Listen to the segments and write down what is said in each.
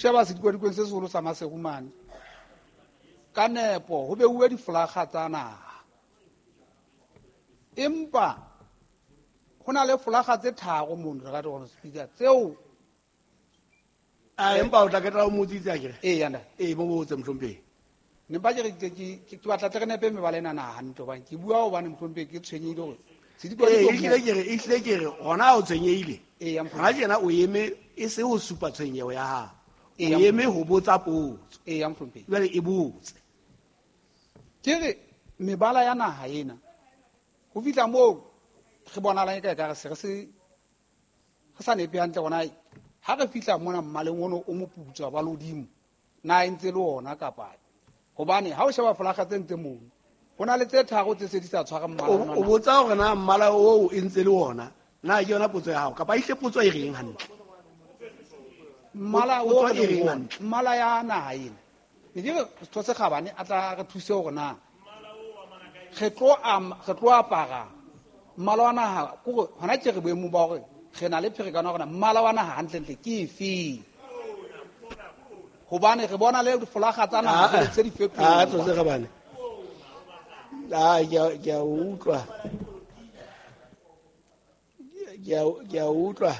Sheba sedikwadikong se seholo sa Maseru mane, ka nepo ho beuwe difolaga tsa naha, empa ho na le folaga tse tharo mono, Right Honorable Speaker, tseo A empa o tla ketla o motsitse akere? Ee, yanda. Ee, mo botse mohlomphehi. Ne mpa ke re ke batla tle re nepe mebala ena na hantle, hobane ke bua hobane mohlomphehi ke tshwenyehile hore sedikwadikong Ee, ehlile ke re, ehlile ke re, hona o tshwenyehile. Ee, ya Hona tjena o eme e se ho supa tshwenyeho ya hao. O eme ho botsa potso. Ee, ya mohlomphehi. Jwale e botse. Ke re mebala ya naha ena ho fihla moo re bonahalang e ka ekare se re se re sa nepe hantle hona ha re fihla mona mmaleng ono o moputswa ba lodimo na e ntse le ona kapa hobane ha o sheba folaga tse ntse mono ho na le tse tharo tse se di sa tshware mmala ona. O botsa hore na mmala oo e ntse le ona, na ke yona potso ya hao kapa ehlile potso e reng hantle? Mmala o Potso re e reng leng hantle? mmala ya naha ena. Ne ke re setho se kgabane a tla re thuse hore na re tlo re tlo apara mmala wa naha, kore hona tje re boemong ba hore re na le pherekano ya hore na mmala wa naha hantlentle ke efeng, hobane re bona le difolaga tsa naha tse di fetoha. Ah, setho se kgabane. Ah, ke a utlwa. Ke a utlwa.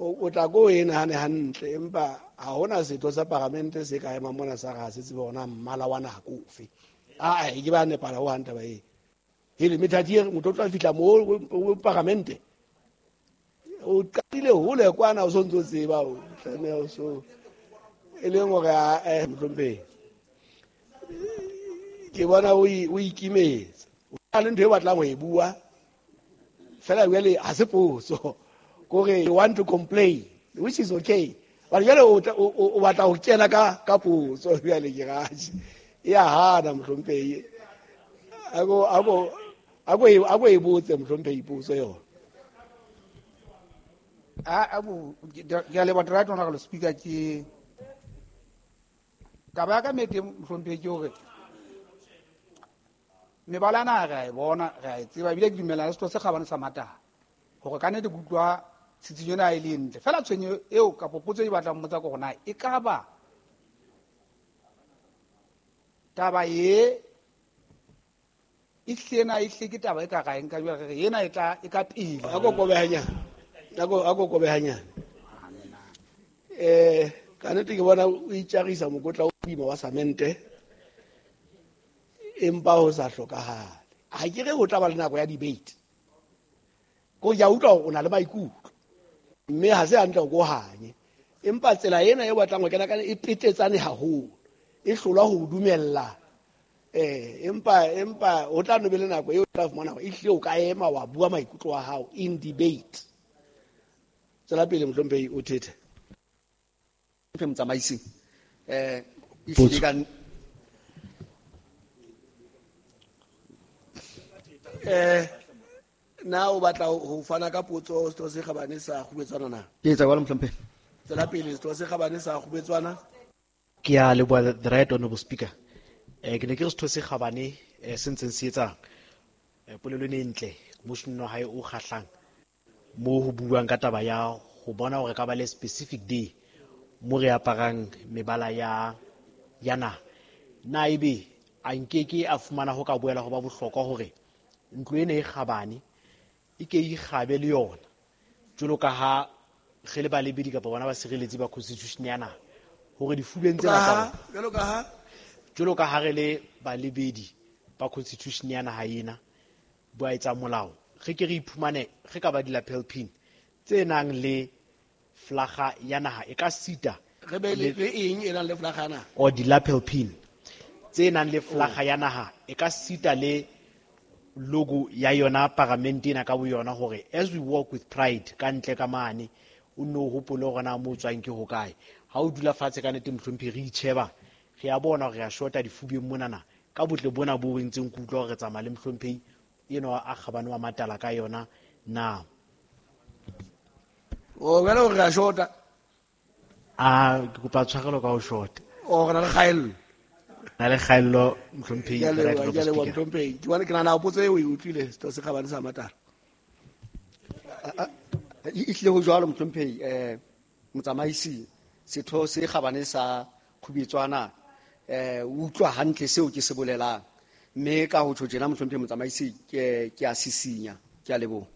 O tla ko e nahane hantle, empa ha hona setho sa paramente se ka emang mona sa re ha se tsebe hore na mmala wa naha ke ofe. Ah, e ke ba nepala ho hang taba e. Hele, methati e re, motho o tla fihla moo o paramente. O qadile hole kwana o sontso o tseba, o tlameha o so. E leng hore, ah, mohlomphehi. Ke bona o ikimetse. O na le ntho e batlang ho e bua. Fela jwale ha se potso. Kore you want to complain, which is okay. But jwale o batla ho kena ka potso jwale ke raje. E a hana mohlomphehi. Ako e botse mohlomphehi potso yona. Ke a leboha, Right Honorable Speaker, ke taba ya ka mete mohlomphehi ke hore mebala ena re a e bona, re a e tseba, ebile ke dumellana le setho se kgabane sa Matala hore ka nnete ke utlwa tshitshinyo ena e le ntle. Fela tshwenyo eo kapo potso e batlang mmotsa ke hore na e ka ba taba e e hlile na e hlile ke taba e ka ra e nka jwale, re re ena e tla, e ka pele. A ko kobe hanyane. A ko kobe hanyane. Ka nnete ke bona o itjarisa mokotla o boima wa samente, empa ho sa hlokahale. Ha ke re ho tla ba le nako ya debate. Ko ke a utlwa hore o na le maikutlo, mme ha se hantle hore o hanye. Empa tsela ena e batlang ho kena ka e petetsane haholo, e hlolwa ho dumella. Empa ho tla no be le nako eo o tla fumana hore ehlile o ka ema wa bua maikutlo a hao in debate. Tswela pele mohlomphehi o thethe. Mohlomphehi motsamaisi, ehlile ka Na o batla ho fana ka potso setho se kgabane sa Kgubetswana na? Ke etsa jwalo mohlomphehi. Tswela pele setho se kgabane sa Kgubetswana. Ke a leboha, the Right Honorable Speaker. Ke ne ke re setho se kgabane, se ntseng se etsang. Polelo ene e ntle, motion wa hae o kgahlang mo ho buang ka taba ya ho bona hore ka ba le specific day mo re aparang mebala ya naha. Na ebe a nkeke a fumana ho ka boela ho ba bohlokwa hore ntlo ena e kgabane e ke e ikgabe le yona, jwalo ka ha re le balebedi kapa bona basireletsi ba constitution ya naha, hore difubeng tsena tsa rona, Jwalo ka ha? jwalo ka ha re le balebedi ba constitution ya naha ena, ba etsa molao, re ke re iphumane re ka ba di-lapel pin tse nang le flaga ya naha e ka sita Re be le eng e nang le flaga ya naha? Or di-lapel pin tse nang le flaga ya naha e ka sita le logo ya yona paramente ena ka boyona, hore as we walk with pride ka ntle ka mane, o nno o hopole hore na mo o tswang ke hokae. Ha o dula fatshe ka nnete mohlomphehi, re itjheba, re a bona hore re a shota difubeng monana ka botle bona bo re ntseng ke utlwa hore re tsamaya le mohlomphehi enwa a kgabane wa Matala ka yona na. O jwale hore re a shota? A, ke kopa tshwarelo ka ho shota. O, re na le kgaello. Na le kgaello, mohlomphehi, Ke a leboha, Right ke a leboha, Speaker. mohlomphehi. Ke bona ke nahana potso eo o e utlwile, setho se kgabane sa Matala. E hlile ho jwalo, mohlomphehi, motsamaisi. Setho se kgabane sa Khubetswana utlwa hantle seo ke se bolelang. Mme ka ho tjho tjena mohlomphehi motsamaisi ke a sisinya. Ke a leboha.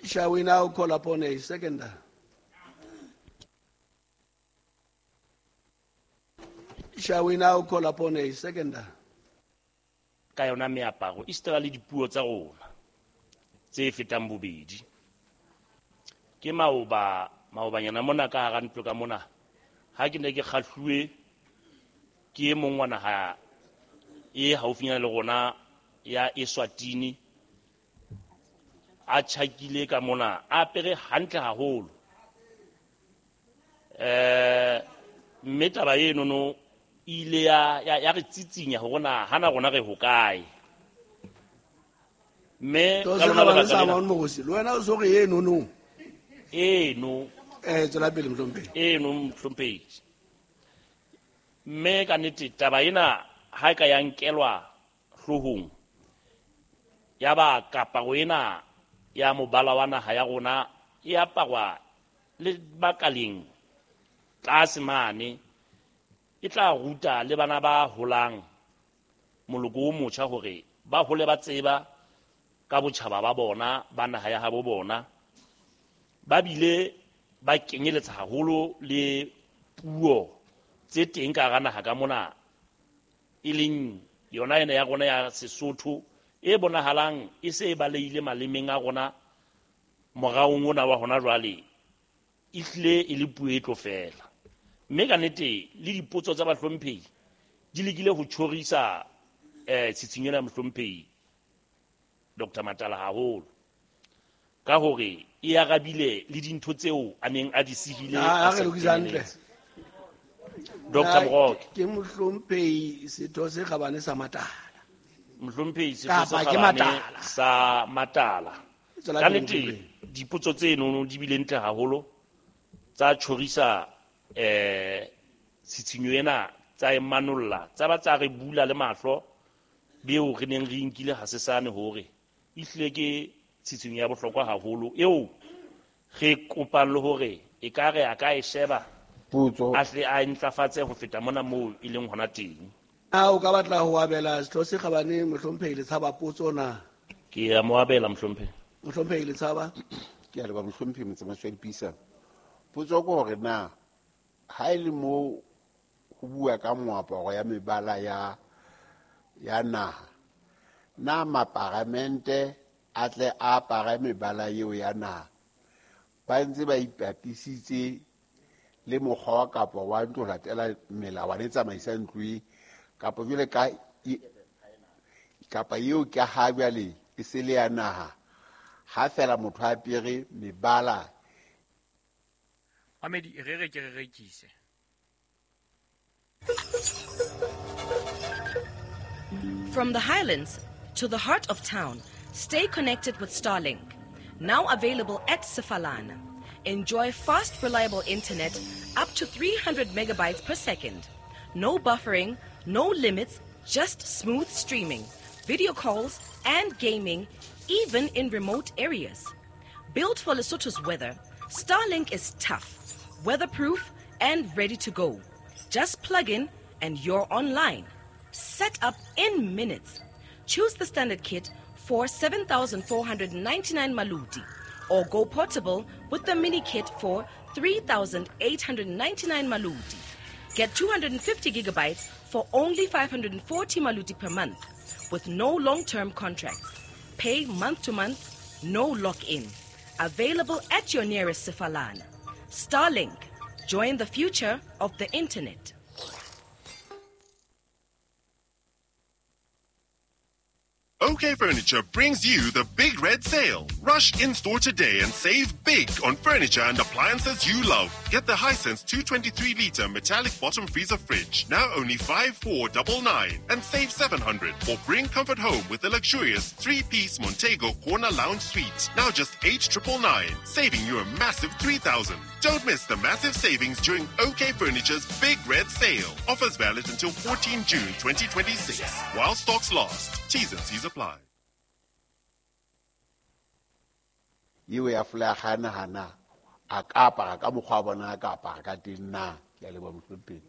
Shall we now call upon a seconder? Shall we now call upon a seconder? Ka yona meaparo e sitela le dipuo tsa rona tse fetang bobedi. Ke maobanyana mona ka hara ntlo ka mona ha ke ne ke kgahluwe ke e mong wa naha e haufinyana le rona ya Eswatini a tjhakile ka mona a apere hantle haholo. Mme taba eno ile ya re tsitsinya hore na hana rona re hokae. Mme ka lona lebaka lena le wena o so re eno no. Eno. Tswela pele mohlomphehi. Eno mohlomphehi. Mme ka nnete taba ena ha e ka ya nkelwa hloohong ya ba kaparo ena ya mobala wa naha ya rona e aparwa le bakaleng tlase mane e tla ruta le bana ba holang moloko o motjha hore ba hole ba tseba ka botjhaba ba bona ba naha ya habo bona, ba bile ba kenyeletsa haholo le puo tse teng ka hara naha ka mona e leng yona ena ya rona ya Sesotho e bonahalang e se e baleile malemeng a rona moraong ona wa hona jwale e hlile e le puo e tlo fela. Mme ka nnete le dipotso tsa bahlomphehi di lekile ho tjhorisa tshitshinyo ena ya mohlomphehi Dr. Matala haholo ka hore e arabile le dintho tseo a neng a di sihile. A re lokisa hantle. Dr. Moroke. Ke mohlomphehi setho se kgabane sa Matala. Mohlomphehi setho se kgabane sa Matala. Ka nnete dipotso tseno di bile ntle haholo tsa tjhorisa tshitshinyo ena tsa e manolla tsa ba tsa re bula le mahlo beo re neng re nkile ha sesane hore e hlile ke tshitshinyo ya bohlokwa haholo eo re kopang le hore e ka re a ka e sheba a hle a ntlafatse ho feta mona moo e leng hona teng. A o ka batla ho abela setho se kgabane mohlomphehi Letshaba potso na? Ke a mo abela mohlomphehi. Mohlomphehi Letshaba. Ke a leboha mohlomphehi motsamaisi wa dipuisano. Potso ke hore na ha e le mo ho bua ka moaparo ya mebala ya naha, na maparamente a tle a apare mebala eo ya naha ba ntse ba ipapisitse le mokgwa kapa wa ntlo latela melawana e tsamaisang ntlo e kapa jwale ka kapa eo ke ha jwale e se le ya naha ha fela motho a apere mebala. Mamedi re re ke re rekise. From the highlands to the heart of town, stay connected with Starlink. Now available at Sefalana. Enjoy fast, reliable internet up to 300 megabytes per second. No buffering, no limits, just smooth streaming, video calls, and gaming, even in remote areas. Built for Lesotho's weather, Starlink is tough, weatherproof, and ready to go. Just plug in and you're online. Set up in minutes. Choose the standard kit for 7,499 maluti or go portable with the mini kit for 3,899 maluti. Get 250 gigabytes for only 540 maluti per month with no long-term contracts. Pay month to month, no lock-in. Available at your nearest Sefalana. Starlink. Join the future of the internet. OK Furniture brings you the Big Red Sale. Rush in-store today and save big on furniture and appliances you love. Get the Hisense 223-litre metallic bottom freezer fridge, now only 5,499, and save 700. Or bring comfort home with the luxurious 3-piece Montego Corner Lounge Suite, now just 8,999, saving you a massive 3,000. Don't miss the massive savings during OK Furniture's Big Red Sale. Offers valid until 14 June 2026. While stocks last. T's and C's apply. Eo ya folaga naha na a ka apara ka mokgwa wa bona a ka apara ka teng na. Ke a leboha mohlomphehi.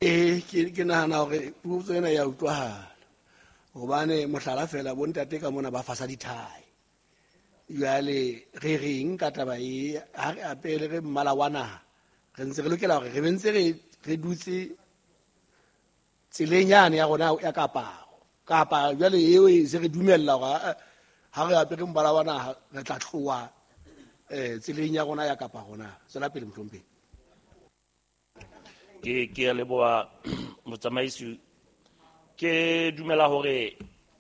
Ee, ke nahana hore potso ena ya utlwahala, hobane mohlala fela bontate ka mona ba fasa dithai. Jwale re reng ka taba e, ha re apere re mmala wa naha, re ntse re lokela hore re be ntse re dutse tseleng yane ya rona ya kaparo, kapa jwale eo e se re dumella hore ha re apere mmala wa naha re tla tloha tseleng ya rona ya kaparo na. Tswela pele mohlomphehi. Ke a leboha motsamaisi. Ke dumela hore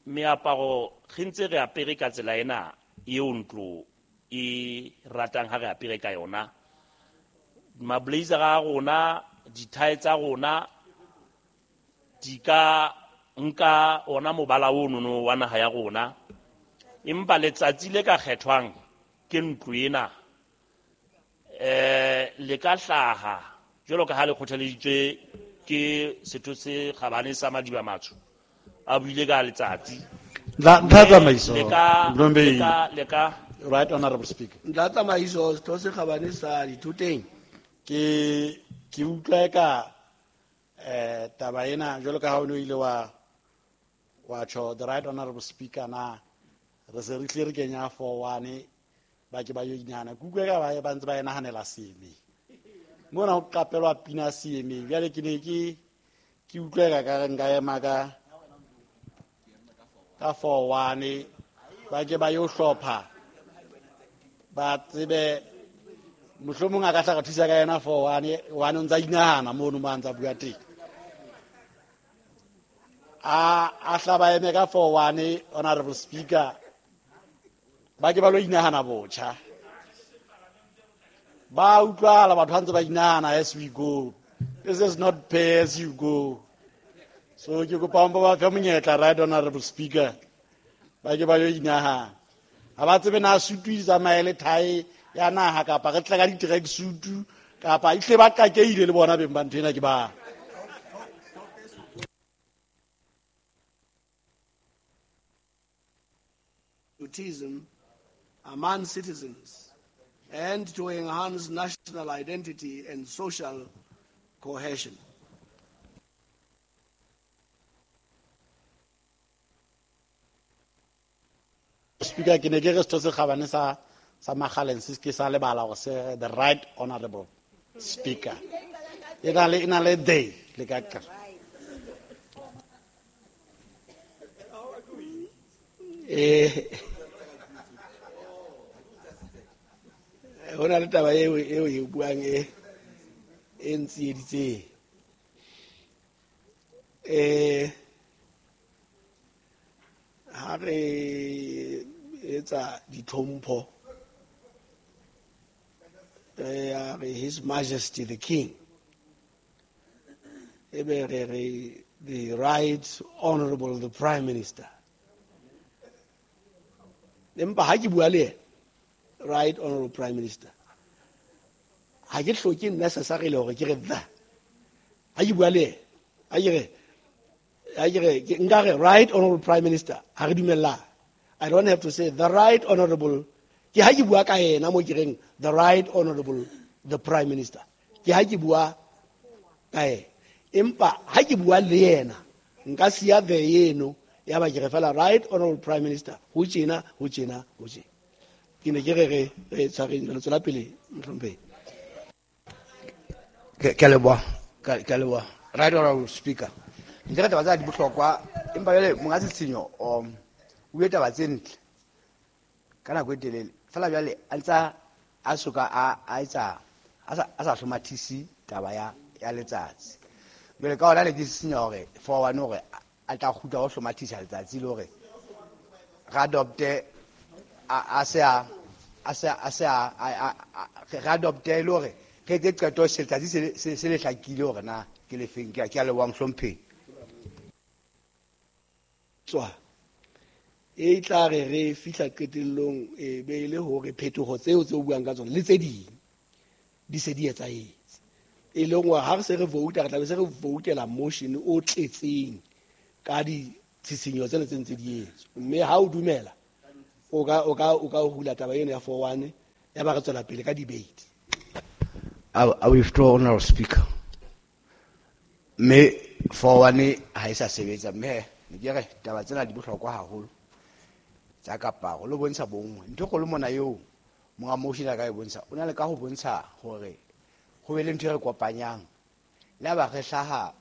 meaparo re ntse re apere ka tsela ena eo ntlo e ratang ha re apere ka yona. Mablazer a rona, dithae tsa rona di ka nka ona mobala ono wa naha ya rona, empa letsatsi le ka kgethwang ke ntlo ena le ka hlaha jwalo ka ha le kgothaleditswe ke setho se kgabane sa Madiba Matsho a buile ka letsatsi. Ntlha tsamaiso, Le ka Right Honorable Speaker. Ntlha tsamaiso, setho se kgabane sa Dithoteng. Ke utlwa ka taba ena jwalo ka ha o ne o ile wa tjho the Right Honorable Speaker na re se re tle re kenya 4-1 ba ke ba yo inahana. Ke utlwa ka ba ntse ba e nahanela seemeng. Mona ho qapelwa pina seemeng. Jwale ke ne ke utlwa ka re nka ema ka 4-1 ba ke ba yo hlopha ba tsebe mohlomong a ka hla re thusa ka yena 4-1 one o ntsa inahana mono mo a ntsa bua teng. A hla ba eme ka 4-1 Honorable Speaker ba ke ba lo inahana botjha. Ba utlwala batho ba ntse ba inahana as we go. This is not pay as you go. So ke kopa ba fe monyetla Right Honorable Speaker ba ke ba yo inahana. Ha ba tsebe na sutu di tsamaye le thae ya naha kapa re tla ka di-track suit kapa ehlile ba qakeile le bona beng ba ntho ena ke ba. Patriotism among citizens and to enhance national identity and social cohesion. Speaker, ke ne ke re setho se kgabane sa Makgaleng se ke sa lebala hore se the Right Honorable Speaker. E na le day le ka ka. Ho na le taba eo e buang e ntsieditseng. Ha re etsa ditlhompho re His Majesty the King, ebe re the Right Honorable the Prime Minister. Empa ha ke bua le yena Right Honorable Prime Minister, ha ke hloke necessarily hore ke re the. Ha ke bua le yena, ha ke re nka re Right Honorable Prime Minister, ha re dumellana. I don't have to say the Right Honorable. Ke ha ke bua ka yena mo ke reng the Right Honorable the Prime Minister. Ke ha ke bua ka yena. Empa ha ke bua le yena nka siya the eno ya ba ke re fela Right Honorable Prime Minister ho tjena ho tjena ho tjena. Ke ne ke re re tshwareng jwalo, tswela pele mohlomphehi. Ke a leboha, ke a leboha. Right Honorable Speaker. Ntle ka taba tsa di bohlokwa, empa jwale monga Setshenyo, o bue taba tse ntle ka nako e telele. Fela jwale a ntsa a soka a etsa a sa hlomathise taba ya letsatsi. Jwale ka hona ne ke sisinya hore 4-1 hore a tla kgutla ho hlomathisa letsatsi le hore re adopte a se a re adopte le hore re etse qeto se letsatsi se le hlakile hore na ke lefeng. Ke a leboha mohlomphehi. Tswa e tla re fihla qetellong e be le hore phetoho tseo tse o buang ka tsona le tse ding di se di etsahetse. E leng hore ha re se re vouta re tla be se re voutela motion o tletseng ka ditshisinyo tsena tse ntse di etswa. Mme ha o dumela o ka hula taba eno ya 4-1, ya ba re tswela pele ka debate. I withdraw, Honorable Speaker. Mme 4-1 ha e sa sebetsa, mme ne ke re taba tsena di bohlokwa haholo tsa kaparo le bontsha bonngwe. Ntho e kgolo mona eo monga motion a ka e bontsha, o na le ka ho bontsha hore ho be le ntho e re kopanyang le ha ba re hlaha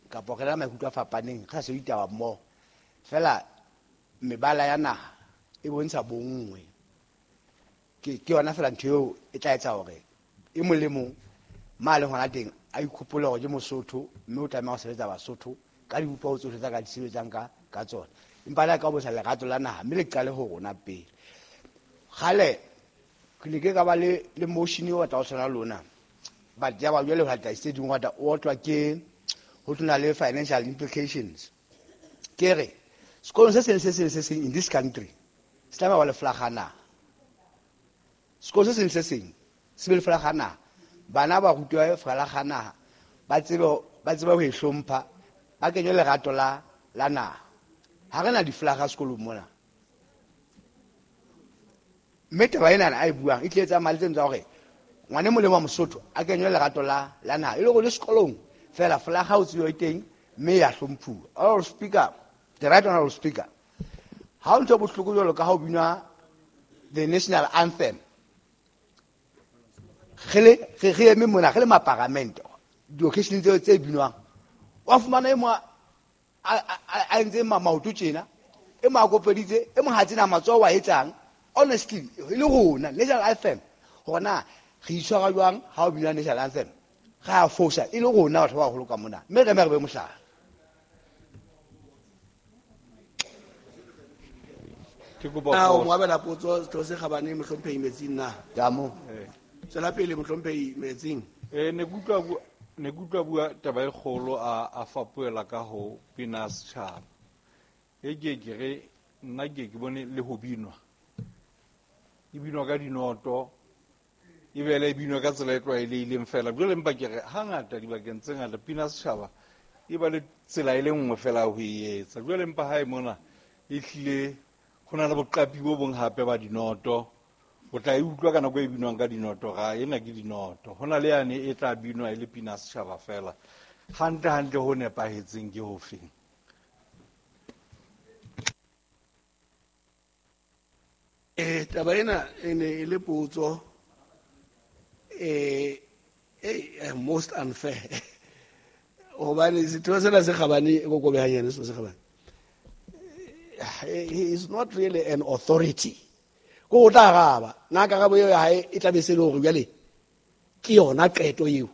kapa re na le maikutlo a fapaneng, re sa sebetse ditaba mmoho fela. Mebala ya naha e bontsha bonngwe, ke yona fela ntho eo e tla etsa hore e mong le mong ma leng hona teng a ikhopole hore ke Mosotho, mme o tlameha ho sebetsa Basotho ka dibopeho tsohle tsa ka di sebetsang ka tsona. Empa le ha ka bontsha lerato la naha, mme le qale ho rona pele. Kgale ke ne ke ka ba le motion o batla ho tshwana le lona, but ya ba jwale ho latela tse ding hota o otlwa ke ho tlona le financial implications. Ke re sekolong se seng le se seng le se seng in this country se tlameha ba le flaga naha. Sekolo se seng le se seng se be le flaga naha, bana ba rutiwa flaga naha, ba tsebe ho e hlompha, ba kenywe lerato la naha. Ha re na diflaga sekolong mona, mme taba enana a e buang e tlile tsamaya le tseno tsa hore ngwane e mong le wa Mosotho a kenywe lerato la naha, e le hore le sekolong fela flaga o tsebe e teng, mme ya hlomphuwa. Honorable Speaker, the right honorable Speaker, ha o ntho e bohloko jwalo ka ha o binwa the national anthem, re eme mona re le maparamente, di-occasion tseo tse binwang, wa fumana e mong a entse maoto tjena, e mong a kopeditse, e mong ha tsena matsoho wa etsang. Honestly, e le rona national anthem, hore na re itshwara jwang ha o binwa national anthem, re a fosa e le rona batho ba baholo ka mona, mme re eme re be mohlala. Ke kopa Na o ho mo abela potso, setho se kgabane mohlomphehi Metsing na? Ka mo. Tswela pele, mohlomphehi Metsing. Ne ke utlwa bua taba e kgolo, a fapoela ka ho pina setjhaba. E ke re nna ke bone le ho binwa, e binwa ka dinoto, e bele e binwa ka tsela e tlwaelehileng fela. Jwale empa ke re hangata dibakeng tse ngata pina setjhaba e ba le tsela e le nngwe fela ho e etsa. Jwale empa ha e mona e hlile ho na le boqapi bo bong hape ba dinoto, o tla e utlwa ka nako e binwang ka dinoto, ga ena ke dinoto. Ho na le yane e tla binwa e le pina setjhaba fela. Hantle hantle ho nepahetseng ke ho feng? Taba ena e ne e le potso most unfair, hobane setho sena se kgabane e kokobehanyane, setho se kgabane, he is not really an authority ko o tla araba. Na karabo eo ya hae e tla be se le hore jwale ke yona qeto eo?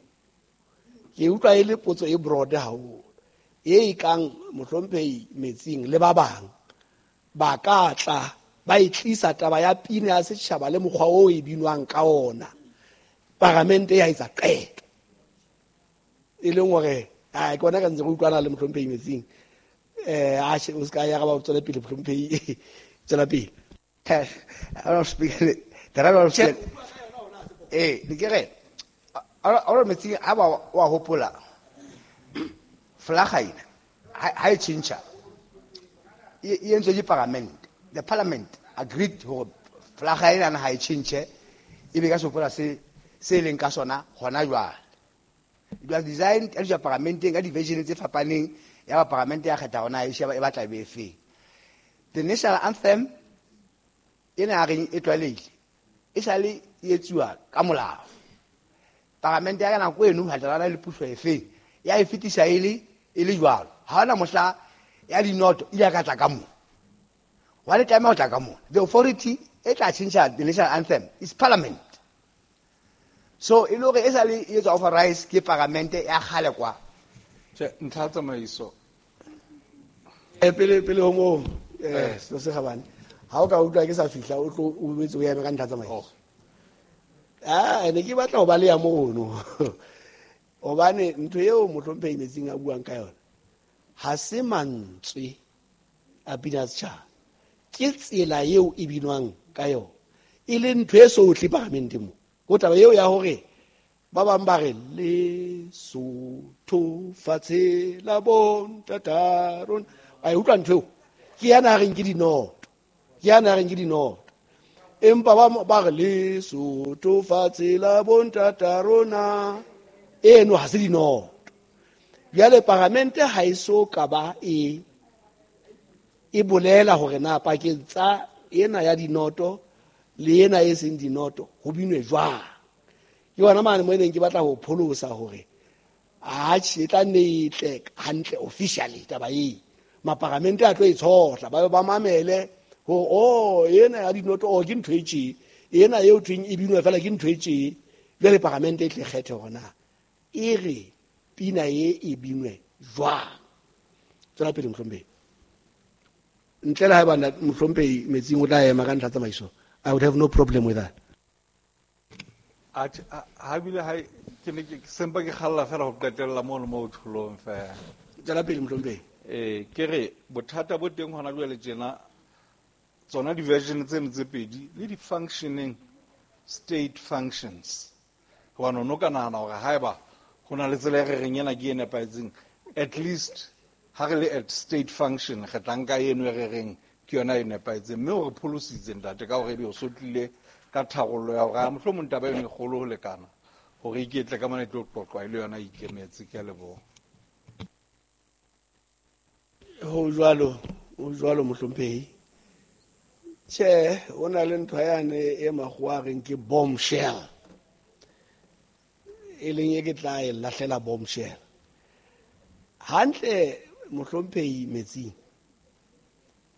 Ke utlwa e le potso e broad haholo e kang mohlomphehi Metsing le ba bang ba ka tla ba e tlisa taba ya pina ya setjhaba le mokgwa o e binwang ka ona, paramente ya etsa qeto e leng hore a ke bona ka ntse re utlwana le mohlomphehi Metsing. A o se ka ya ba tswela pele, mohlomphehi, tswela pele. Honorable Speaker, the right honorable Speaker, ne ke re honorable Metsing ha ba wa hopola flaga ena ha e tjhentjha, e entswe ke parliament. The parliament agreed hore flaga ena ha e tjhentjhe, e be ka sehopola se leng ka sona hona jwale. It was designed ya tswa paramenteng ka di-version tse fapaneng, ya ba paramente ya kgetha hona e sheba e batla e be efeng. The national anthem ena a reng e tlwaelehile, e sale e etsuwa ka molao. Paramente ya ka nako eno ha tla le puso efeng ya e fetisa e le jwalo. Ha hona mohla ya dinoto ile ka tla ka mo wa le tlameha ho tla ka mona. The authority e tla tjhentjha the national anthem is parliament. So e le hore e sale e etswa authorize ke paramente ya kgale kwa. Tjhe, ntlha ya tsamaiso. Pele ho moo, setho se kgabane, ha o ka utlwa ke sa fihla, o tlo o boetse o eme ka ntlha ya tsamaiso. Ah, ne ke batla ho ba le ya mono, hobane ntho eo mohlomphehi Metsing a buang ka yona ha se mantswe a pina ya setjhaba, ke tsela eo e binwang ka yona, e le ntho e sohle paramenteng mo. Ko taba eo ya hore ba bang ba re Lesotho fatshe la bontata rona, wa e utlwa ntho eo? Ke yana a reng ke dinoto, ke yana a reng ke dinoto. Empa ba re Lesotho fatshe la bontata rona, eno ha se dinoto. Jwale paramente ha e so ka ba e bolela hore na pakeng tsa ena ya dinoto le ena e seng dinoto ho binwe jwang. Ke yona mane mo e neng ke batla ho pholosa hore atjhe e tla nne e tle hantle officially taba e. Maparamente a tlo e tshohla, ba be ba mamele hore oh ena ya dinoto oh ke ntho e tje, ena eo thweng e binwa fela ke ntho e tje. Jwale paramente e tle kgethe hore na e re pina e e binwe jwang. Tswela pele mohlomphehi. Ntle le haeba mohlomphehi Metsing o tla ema ka ntlha tsamaiso, I would have no problem with that. Ha bile ha ke ne ke sempa ke kgalla fela ho qetella mono mo tholong fela. Tswela pele mohlomphehi. Ke re bothata bo teng hona jwale tjena, tsona di-version tseno tse pedi le di-functioning state functions. Hobane o no ka nahana hore haeba ho na le tsela e re reng ena ke e nepahetseng, at least ha re le at state function re tla nka eno e re reng ke yona e nepahetseng. Mme o re pholositse ntate ka hore ebe o so tlile ka tharollo ya hore mohlomong taba eno e kgolo ho lekana hore iketle ka mona e tlo qoqwa e le yona e ikemetse. Ke a leboha. Ho jwalo, ho jwalo mohlomphehi. Tjhe, ho na le ntho yane e makgowa a reng ke bombshell, e leng e ke tla e lahlela bombshell. Hantle mohlomphehi Metsing,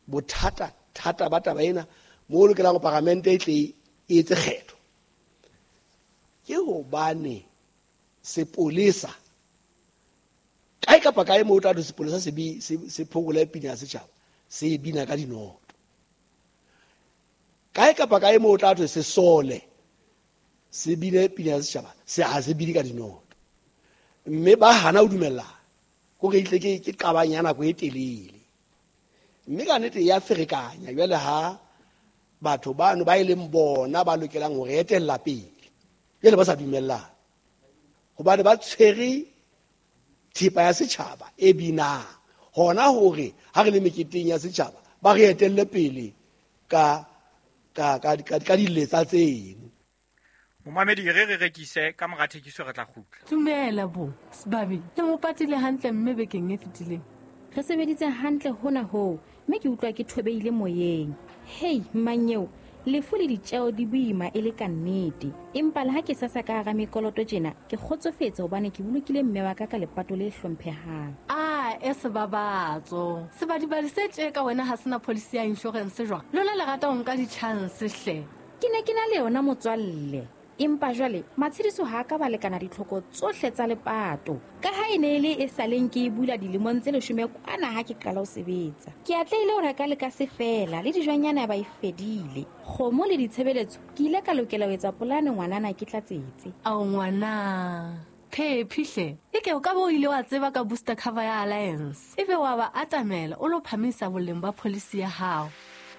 bothata thata ba taba ena mo lokelang ho paramente e tle e etse kgetho ke hobane sepolesa kae kapa kae mo o tla thwe sepolesa se phokole pina ya setjhaba, se e bina ka dinoto. Kae kapa kae mo o tla thwe sesole se bine pina ya setjhaba, se ha se bine ka dinoto. Mme ba hana ho dumellana, kore etle ke qabang ya nako e telele. Mme ka nnete ya ferekanya jwale ha batho bano ba e leng bona ba lokelang ho re etella pele jwale ba sa dumellana, hobane ba tshwere thepa ya setjhaba e binang hona hore ha re le meketeng ya setjhaba ba re etelle pele ka diletsa tseno. Momamedi re rekise ka mora thekiso re tla kgutla. Dumela bo Sebabi, le mo patile hantle mme bekeng e fetileng. Re sebeditse hantle hona hoo, mme ke utlwa ke thobeile moyeng. Hei mmanyeo, lefu le ditjeo di boima e le ka nnete. Empa le ha ke sasa ka hara mekoloto tjena, ke kgotsofetse hobane ke bolokile mme wa ka ka lepato le hlomphehang. A e sebabatso. Sebadibadi se tje ka wena ha sena policy ya insurance jwang? Lona le rata ho nka di-chance hle. Ke ne ke na le yona motswalle. Empa jwale matshediso ha ka ba lekana ditlhoko tsohle tsa lepato. Ka ha e ne e le e saleng ke e bula dilemong tse 10 kwana ha ke qala ho sebetsa. Ke atlehile ho reka le ka se fela le dijwanyana ba e fedile. Kgomo le ditshebeletso ke ile ka lokela ho etsa polane ngwanana ke tlatsetse. Ao ngwana, phephi hle. Eke o ka bo ile wa tseba ka booster cover ya Alliance. Ebe wa ba atamela o lo phamisa boleng ba policy ya hao.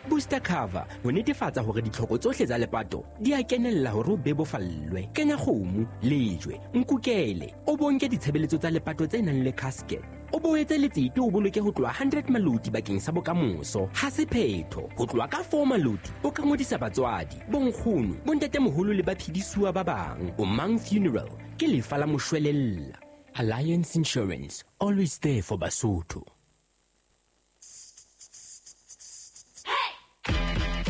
Booster cover ho netefatsa hore ditlhoko tsohle tsa lepato di a kenella hore o bebofallwe. Kenya kgomo, lejwe, nkukele, o bonke ditshebeletso tsa lepato tse nang le casket. O boetse letsete o boloke ho tloha 100 maloti bakeng sa bokamoso. Ha se phetho, ho tloha ka 4 maloti o ka ngodisa batswadi, bonkgono, bontatemoholo le baphedisuwa ba bang. O Mang Funeral ke lefa la moshwelella. Alliance Insurance, always there for Basotho.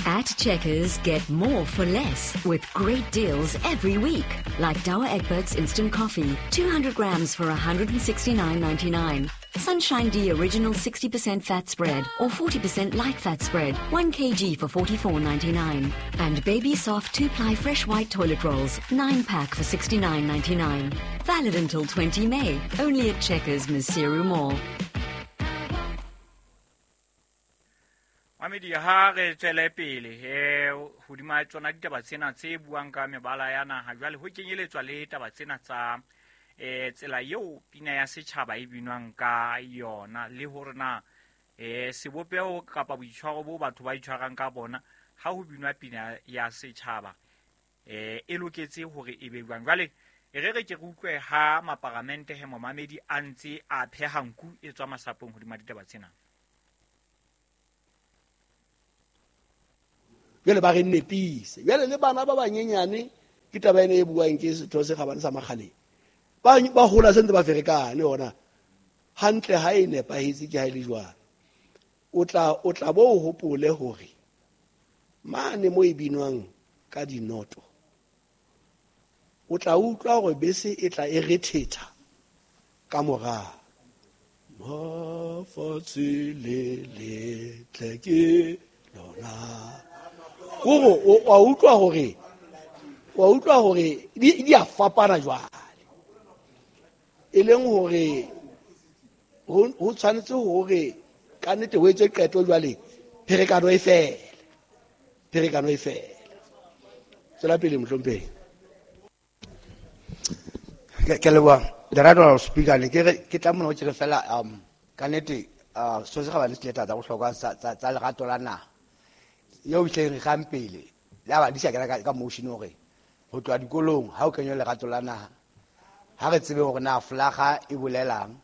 At Checkers, get more for less with great deals every week. Like Douwe Egberts Instant Coffee, 200 grams for $169.99. Sunshine D Original 60% fat spread or 40% light fat spread, 1 kg for $44.99. And Baby Soft 2-ply fresh white toilet rolls, 9-pack for $69.99. Valid until 20 May, only at Checkers, Maseru Mall. Mamedi ha re tswele pele hodima tsona ditaba tsena tse buang ka mebala ya naha, jwale ho kenyeletswa le taba tsena tsa tsela eo pina ya setjhaba e binwang ka yona, le hore na sebopeho kapa boitshwaro bo batho ba itshwarang ka bona ha ho binwa pina ya setjhaba e loketse hore e be jwang. Jwale e re ke re utlwe ha maparamente he momamedi a ntse a pheha nku e tswa masapong hodima ditaba tsena. Jwale ba re nepise. Jwale le bana ba banyenyane ke taba ena e buang ke setho se kgabane sa Makgaleng. Ba hola se ntse ba ferekane hona. Hantle ha e nepahetse ke ha e le jwang. O tla bo o hopole hore mane mo e binwang ka dinoto o tla utlwa hore bese e tla e rethetha ka morao. Mafatshe le letle ke lona. Kore wa utlwa hore di a fapana jwale. E leng hore ho tshwanetse hore ka nnete ho etswe qeto jwale, pherekano e fele. Tswela pele mohlomphehi. Ke leboha the right honorable speaker. Ne ke re ke tla mona ke re fela ka nnete so se kgabane se tla tsa bohlokwa tsa lerato la naha eo ehleng re kgang pele le ha ba di sa kena ka motion hore ho tloha dikolong ha o kenywa lerato la naha ha re tsebe hore na flaga e bolelang.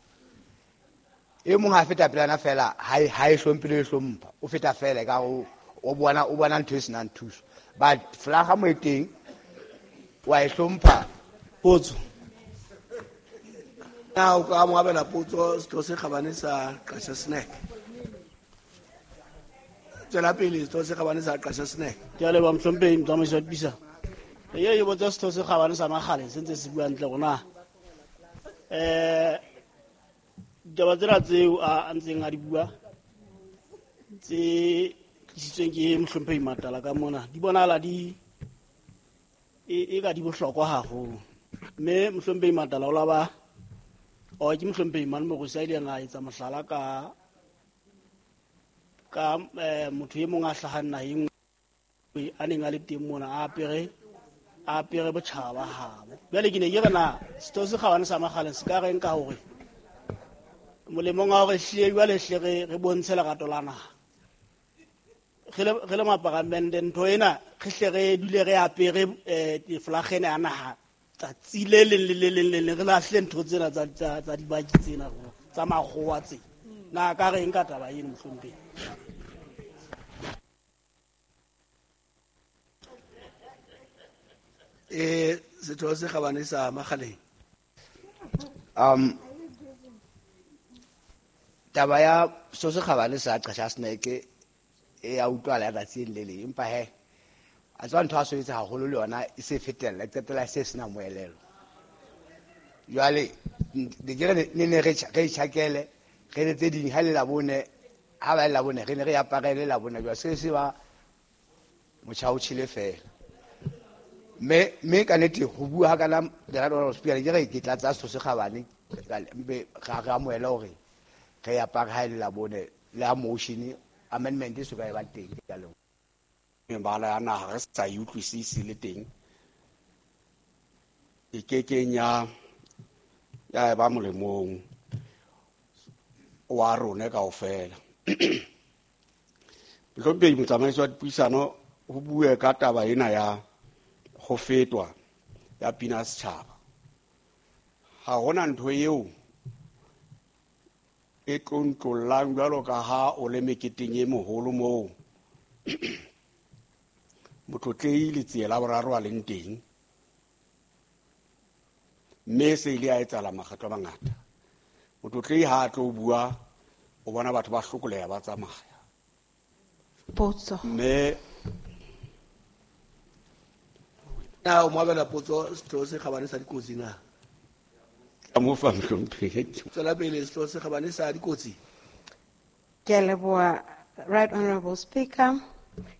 E mong ha feta pelana fela ha e hlompile e hlompha o feta fela ka o bona ntho e senang thuso, but flaga mo e teng wa e hlompha. Potso. Na o ka mo abela potso setho se kgabane sa Qasha Snack. Tswela pele setho se kgabane sa Qasha Snack. Ke a leboha mohlomphehi motsamaisi wa dipisa. E botsa setho se kgabane sa Makgaleng se ntse se bua ntle rona. Ditaba tsena tseo a ntseng a di bua tse tlisitsweng ke mohlomphehi Matala ka mona di bonahala di e ka di bohlokwa haholo. Mme mohlomphehi Matala o la ba o ke mohlomphehi Mane Morusi a ileng a etsa mohlala ka motho e mong a hlahang naheng a neng a le teng mona a apere botjhaba ba habo. Jwale ke ne ke re na setho se kgabane sa Makgaleng se ka reng ka hore molemong wa hore hlile jwale hle re bontshe lerato la naha. Re le maparamente ntho ena re hle re dule re apere flagene ya naha tsatsi le leng le le leng le leng, re lahle ntho tsena tsa dibaki tsena tsa makgowa tse. Na ka reng ka taba eno mohlomphehi? Setho se kgabane sa Makgaleng. Taba ya setho se kgabane sa Qasha Snack e a utlwala ya tsatsi le leng, empa he a tswa ntho a soetse haholo le yona e se fetella e qetella se sena moelelo. Jwale ke re ne re tjhakele re le tse ding ha le labone ha ba le labone re ne re aparele labone jwa se se ba motjha o tjhele fela. Mme ka nnete ho bua ha kana the right honorable speaker ke re ke tlatsa setho se kgabane mpe ga re amohela hore re apare ha le labone le ha motion amendment e so ka e ba teng. Ke a leboha. Mebala ya naha re sa e utlwisise le teng e kekeng ya ba molemong wa rona kaofela. Mohlomphehi motsamaisi wa dipuisano ho bue ka taba ena ya ho fetwa ya pina setjhaba. Ha hona ntho eo e tlontlollang jwalo ka ha o le meketeng e moholo moo motlotlehi Letsie la boraro a leng teng, mme se ile a etsahala makgetlo a mangata. Motlotlehi ha a tlo bua o bona batho ba hlokoleha ba tsamaya. Potso. Mme na o mo abela potso setho se kgabane sa dikotsi na? Ka mo fa mohlomphehi. Tswela pele setho se kgabane sa dikotsi. Ke a leboha right honorable speaker.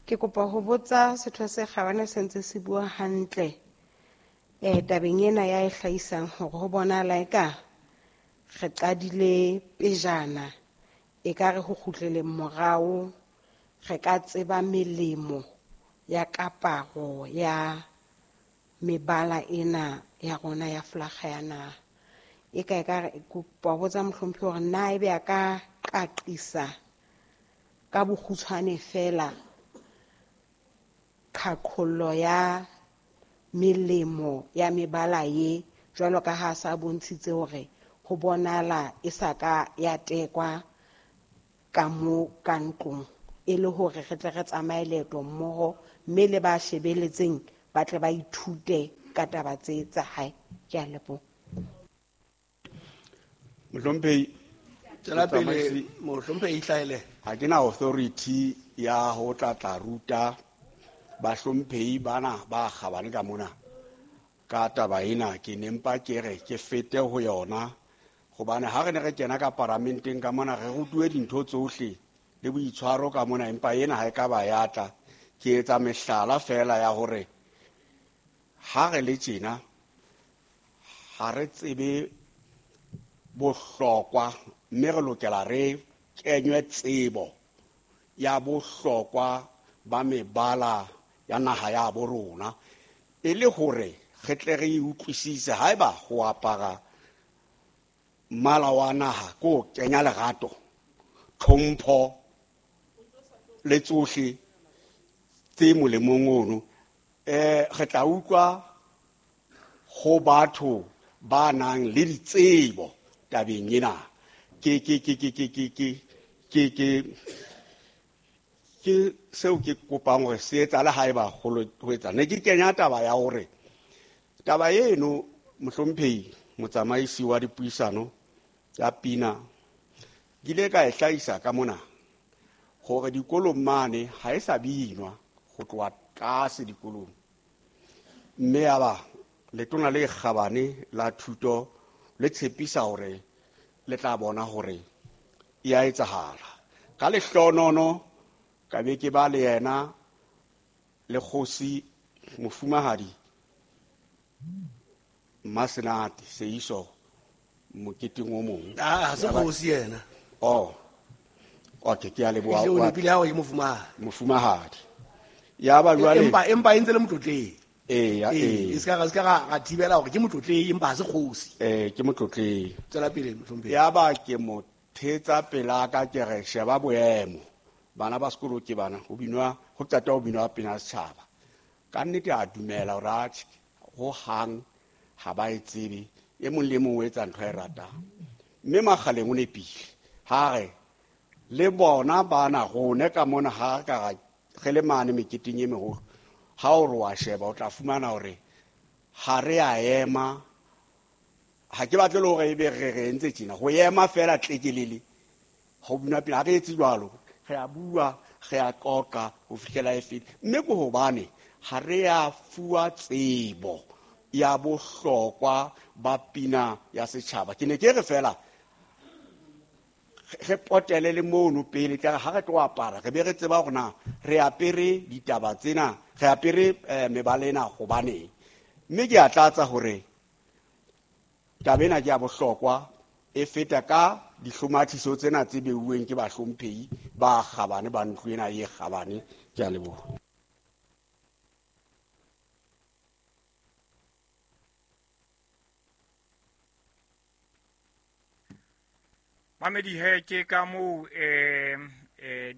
Ke kopa ho botsa setho se kgabane se ntse se bua hantle tabeng ena ya e hlahisang hore ho bonahala eka re qadile pejana e ka re ho kgutleleng morao re ka tseba melemo ya kaparo ya mebala ena ya rona ya flaga ya naha. E ka re kopa ho botsa mohlomphehi hore na ebe a ka qaqisa ka bokgutshwane fela qhaqhollo ya melemo ya mebala ye jwalo ka ha sa bontshitse hore ho bonala e sa ka ya tekwa ka mo ka ntlong e le hore re tle re tsamaye leeto mmoho mme le ba shebeletseng ba tle ba ithute ka taba tse tsa hae. Ke a leboha. Mohlomphehi, Tswela pele, mohlomphehi Hlaele. Ha ke na authority ya ho tla ruta bahlomphehi bana ba kgabane ka mona ka taba ena. Ke ne mpa ke re ke fete ho yona, hobane ha re ne re kena ka paramenteng ka mona re rutuwe dintho tsohle le boitshwaro ka mona, empa ena ha e ka ba ya tla. Ke etsa mehlala fela ya hore ha re le tjena ha re tsebe bohlokwa, mme re lokela re kenywe tsebo ya bohlokwa ba mebala ya naha ya bo rona, e le hore re tle re e utlwisise. Haeba ho apara mmala wa naha ke ho kenya lerato, tlhompho le tsohle tse molemong ono, re tla utlwa ho batho ba nang le ditsebo tabeng ena. Ke seo ke kopang hore se etsahale haeba ho etsa. Ne ke kenya taba ya hore taba eno, mohlomphehi motsamaisi wa dipuisano ya pina, ke ile ka e hlahisa ka mona hore dikolong mane ha e sa binwa ho tloha tlase dikolong, mme ya ba letona le kgabane la thuto le tshepisa hore le tla bona hore e a etsahala. Ka lehlonono ka be ke ba le yena le kgosi mofumahadi Mmasenate Seiso moketeng o mong. Ah, ha se kgosi yena. Oh. Okay, ke a leboha. Ehlile o nepile ha o re ke mofumahadi. Mofumahadi. Ya ba jwale Empa e ntse le motlotlehi. Eya, Ee, ee. e ska ra thibela hore ke motlotlehi empa ha se kgosi. Ke motlotlehi. Tswela pele, mohlomphehi. Ya ba ke mo thetsa pelaka ke re sheba boemo. Bana ba sekolo ke bana, ho binwa, ho qeta ho binwa pina setjhaba. Ka nnete a dumela hore atjhe, ho hang ha ba e tsebe, e mong le mong o etsa ntho a e ratang. Mme Makgaleng o nepile ha re le bona bana rone ka mona ha ka ra re le mane meketeng e meholo, ha o re wa sheba o tla fumana hore ha re a ema. Ha ke batle le hore ebe re entse tjena, ho ema fela tlekelele ho binwa pina, ha re etse jwalo, re a bua, re a qoqa ho fihlela e fele. Mme ke hobane ha re a fuwa tsebo ya bohlokwa ba pina ya setjhaba. Ke ne ke re fela re potele le mono pele, tla re ha re tlo apara re be re tseba hore na re apere ditaba tsena, re apere mebala ena hobaneng. Mme ke a tlatsa hore taba ena ke ya bohlokwa, e feta ka dihlomathiso tsena tse beuweng ke bahlomphehi ba kgabane ba ntlo ena e kgabane. Ke a leboha. Mamedi he ke ka moo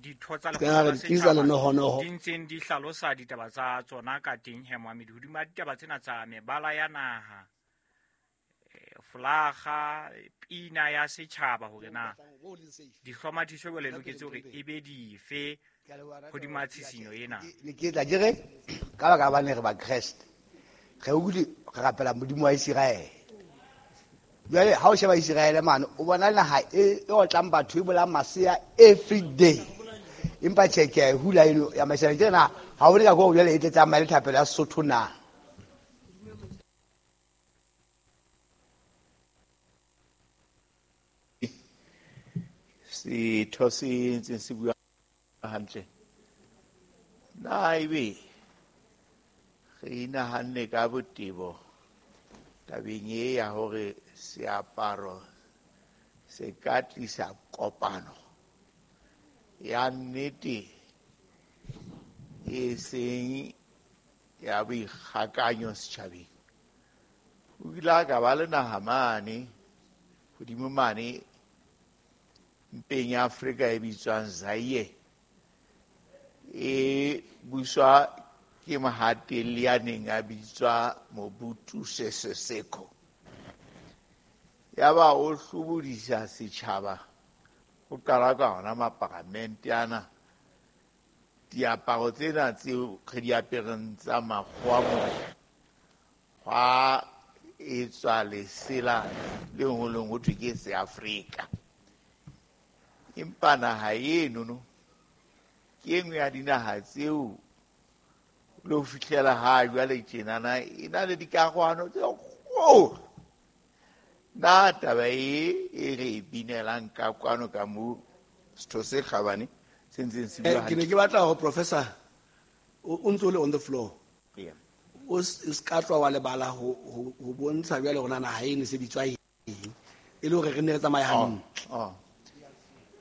ditho tsa Ka re lekgotla la tlisa setjhaba lenohonoho. di ntseng di hlalosa ditaba tsa tsona ka teng he Mohamedi, hodima ditaba tsena tsa mebala ya naha, folaga, pina ya setjhaba, hore na dihlomathiso jwale loketse hore e be dife hodima tshisinyo ena. Ne ke tla ke re ka baka ba ne re ba Kreste, re utlwe re rapela Modimo wa Iseraele. Jwale ha o sheba Iseraele mane, o bona naha e otlang batho, e bolang masea every day. Empa tjhe, ke a e hula eno ya masea. Ke re na ha o le ka koo jwale e tle tsamaye le thapelo ya Sesotho na? Setho se ntseng se bua hantle. Na ebe re inahanne ka botebo tabeng e ya hore seaparo se ka tlisa kopano ya nnete e seng ya boikgakanyo setjhabeng. O ile a ka ba le naha mane hodimo mane mpeng ya Afrika e bitswang Zaire, e buswa ke mohatelli ya neng a bitswa Mobutu Sese Seko. Yaba o hlobodisa setjhaba, ho qala ka ona maparamente ana Diaparo tsena tseo re di apereng tsa makgowa mona, hwa etswa lesela le ngolweng ho thwe ke Seafrika. Empa naha enono ke e nngwe ya dinaha tseo le ho fihlela ha jwale tjenana e na le dikarohano tse kgolo. Na taba e e re e binelang ka kwano ka mo setho se kgabane se ntseng se bua Ke ne hantle. ke batla hore professor o ntse o le on the floor. Yeah. O ska tloha wa lebala ho bontsha jwale hore na naha eno e se bitswa eng, e le hore re nne re tsamaye hantle. Oh.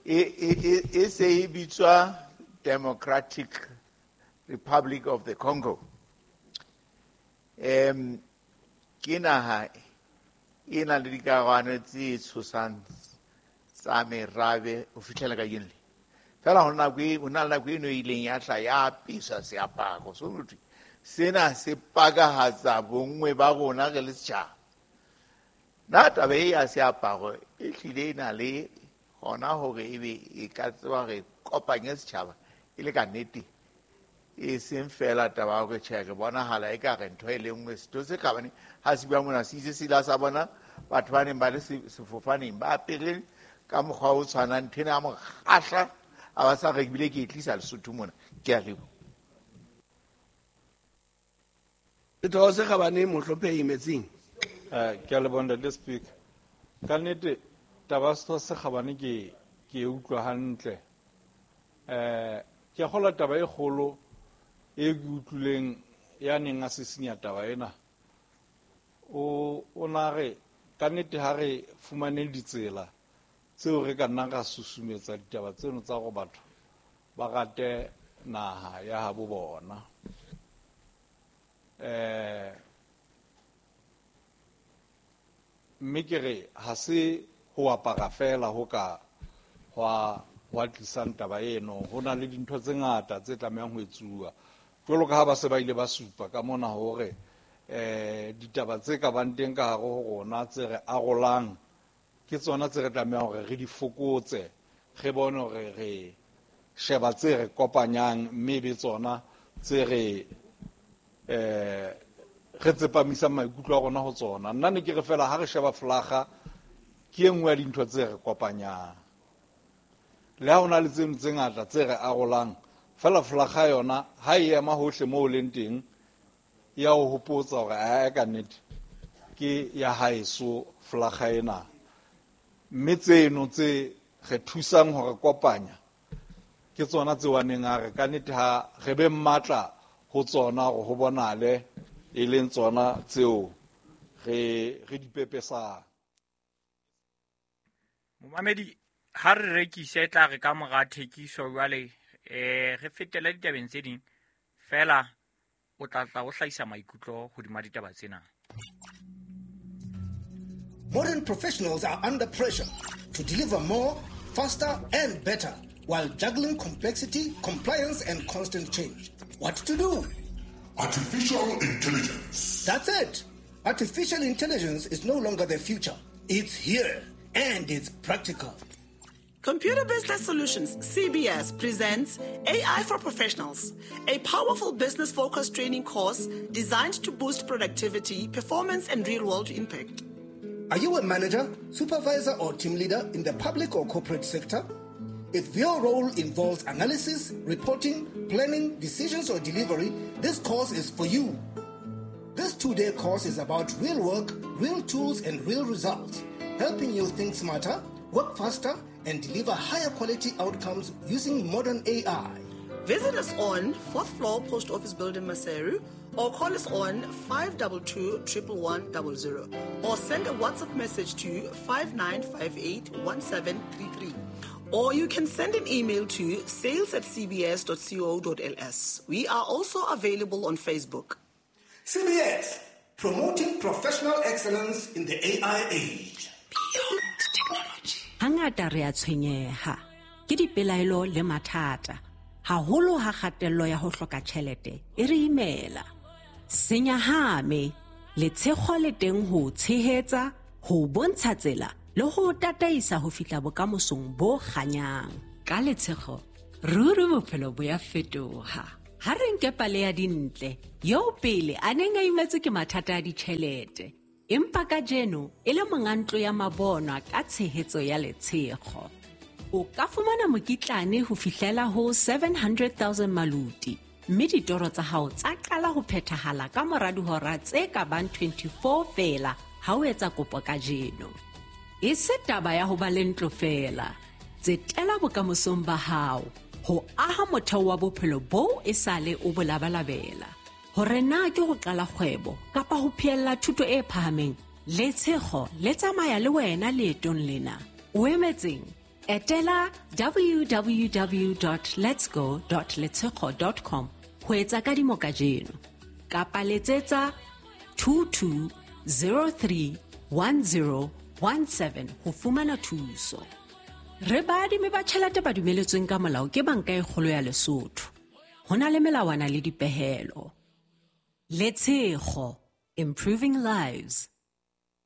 E se e bitswa Democratic Republic of the Congo. Ke naha e nang le dikarohano tse tshosang tsa merabe ho fihlela kajeno le. Feela ho na le nako eno e ileng ya hla ya apeswa seaparo. So ho thwe sena se pakahatsa bonngwe ba rona re le setjhaba. Na taba e ya seaparo e hlile e na le hona hore ebe e ka tseba hore kopanye setjhaba e le ka nnete, e seng feela taba ya hore tjhe re bonahala ekare ntho e le nngwe. Setho se kgabane ha se bua mona se itse se ile sa bona batho ba neng ba le sefofaneng ba apere ka mokgwa o tshwanang, ntho ena ya mo kgahla, a ba sa re ebile ke e tlisa Lesotho mona. Ke a leboha. Setho se kgabane Mohlomphehi Metsing. Ke a leboha Ntate Speaker. Ka nnete taba ya setho se kgabane ke e utlwa hantle. Ke a kgolwa taba e kgolo e ke utlwileng ya neng a sisinya taba ena. O na re ka nnete ha re fumane ditsela tseo re ka nnang ra susumetsa ditaba tseno tsa hore batho ba rate naha ya habo bona. Mme ke re ha se ho apara fela ho ka hwa tlisang taba eno, ho na le dintho tse ngata tse tlamehang ho etsuwa. Jwalo ka ha ba se ba ile ba supa ka mona hore, ditaba tse ka bang teng ka hare ho rona tse re arolang ke tsona tse re tlamehang hore re di fokotse, re bone hore re sheba tse re kopanyang, mme e be tsona tse re tsepamisang maikutlo a rona ho tsona. Nna ne ke re fela ha re sheba flaga ke e nngwe ya dintho tse re kopanyang. Le ha ho na le tseno tse ngata tse re arolang, fela flaga yona ha e ema hohle moo o leng teng, ya o hopotsa hore ae ka nnete ke ya haeso flaga ena. Mme tseno tse re thusang hore kopanya ke tsona tse wa neng a re ka nnete ha re be matla ho tsona hore ho bonale e leng tsona tseo re di pepesang. Momamedi, ha re rekise e tla re ka mora thekiso jwale, re fetele ditabeng tse ding, fela o tla tla o hlahisa maikutlo hodima ditaba tsena. Modern professionals are under pressure to deliver more, faster and better while juggling complexity, compliance and constant change. What to do? Artificial intelligence. That's it. Artificial intelligence is no longer the future. It's here and it's practical. Computer Business Solutions, CBS, presents AI for Professionals, a powerful business-focused training course designed to boost productivity, performance, and real-world impact. Are you a manager, supervisor, or team leader in the public or corporate sector? If your role involves analysis, reporting, planning, decisions, or delivery, this course is for you. This 2-day course is about real work, real tools, and real results, helping you think smarter, work faster, and deliver higher quality outcomes using modern AI. Visit us on 4th floor Post Office Building, Maseru, or call us on 522 111 00, or send a WhatsApp message to 5958 1733. Or you can send an email to sales@cbs.co.ls. We are also available on Facebook. CBS, promoting professional excellence in the AI age. Beyond technology. Hangata re a tshwenyeha ke dipelaelo le mathata, haholo ha kgatello ya ho hloka tjhelete e re imela. Senyahame, letshego le teng ho tshehetsa, ho bontsha tsela le ho tataisa ho fihla bokamosong bo kganyang. Ka letshego, Ruri bophelo bo ya fetoha. Ha re nke pale ya Dintle, eo pele a neng a imetswe ke mathata a ditjhelete, empa kajeno e le monga ntlo ya mabonwa ka tshehetso ya Letshego. O ka fumana mokitlane ho fihlela ho 700,000 maluti, mme ditoro tsa hao tsa qala ho phethahala ka mora dihora tse ka bang 24 feela ha o etsa kopo kajeno. E se taba ya ho ba le ntlo feela. Tsetela bokamosong ba hao ho aha motheo wa bophelo boo e sale o bo labalabela. Hore na ke ho qala kgwebo kapa ho phehella thuto e phahameng, Letshego le tsamaya le wena leetong lena. O emetseng? Etela www.letsgo.letshego.com ho etsa kadimo kajeno kapa letsetsa 22031017 ho fumana thuso. Re baadimi ba tjhelete ba dumeletsweng ka molao ke Banka e Kgolo ya Lesotho. Ho na le melawana le dipehelo. Letshego, improving lives.